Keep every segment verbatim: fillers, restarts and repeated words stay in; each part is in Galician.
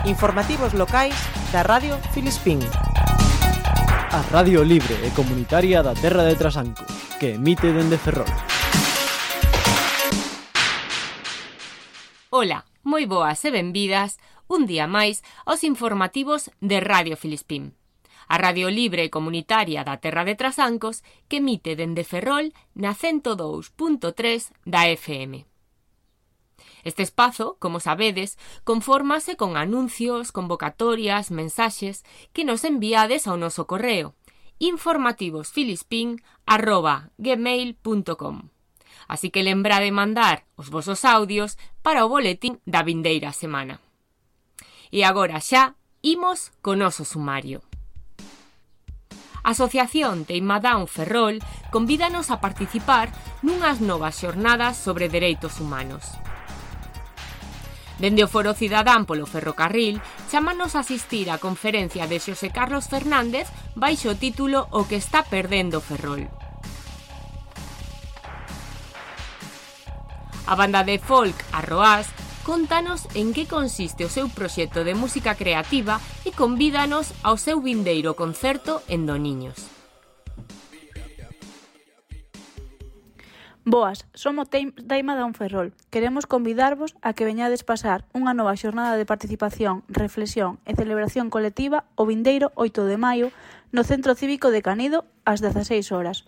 Informativos locais da Radio Filispín. A Radio Libre e Comunitaria da Terra de Trasancos, que emite dende Ferrol. Ola, moi boas e benvidas un día máis aos informativos de Radio Filispín. A Radio Libre e Comunitaria da Terra de Trasancos que emite dende Ferrol na cento dous punto tres da F M. Este espazo, como sabedes, confórmase con anuncios, convocatorias, mensaxes que nos enviades ao noso correo informativosfilispín arroba gmail punto com. Así que lembra de mandar os vosos audios para o boletín da vindeira semana. E agora xa imos co noso sumario. A Asociación Teima Down Ferrol convídanos a participar nunhas novas xornadas sobre dereitos humanos. Dende o Foro Cidadán polo Ferrocarril, chámanos a asistir á conferencia de Xosé Carlos Fernández baixo o título O que está perdendo Ferrol. A banda de folk Arroás contanos en que consiste o seu proxecto de música creativa e convídanos ao seu vindeiro concerto en Doniños. Boas, somos Teima Down Ferrol. Queremos convidarvos a que veñades pasar unha nova xornada de participación, reflexión e celebración colectiva o vindeiro oito de maio no Centro Cívico de Canido ás dezaseis horas.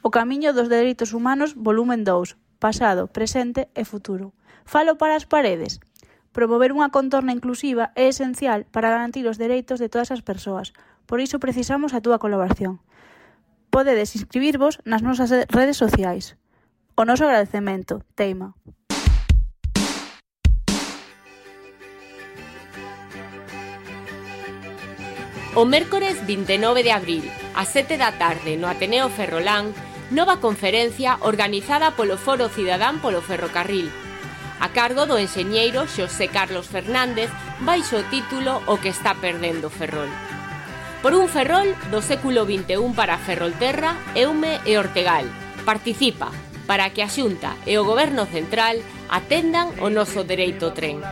O camiño dos dereitos humanos, volumen dous, pasado, presente e futuro. Falo para as paredes. Promover unha contorna inclusiva é esencial para garantir os dereitos de todas as persoas. Por iso precisamos a túa colaboración. Podedes inscribirvos nas nosas redes sociais. O noso agradecemento, Teima. O mércores vinte e nove de abril, ás sete da tarde, no Ateneo Ferrolán, nova conferencia organizada polo Foro Cidadán polo Ferrocarril, a cargo do enxeñeiro Xosé Carlos Fernández, baixo o título O que está perdendo Ferrol. Por un Ferrol do século vinte e un para Ferrolterra, Eume e Ortegal. Participa para que a Xunta e o Goberno Central atendan o noso dereito ao tren.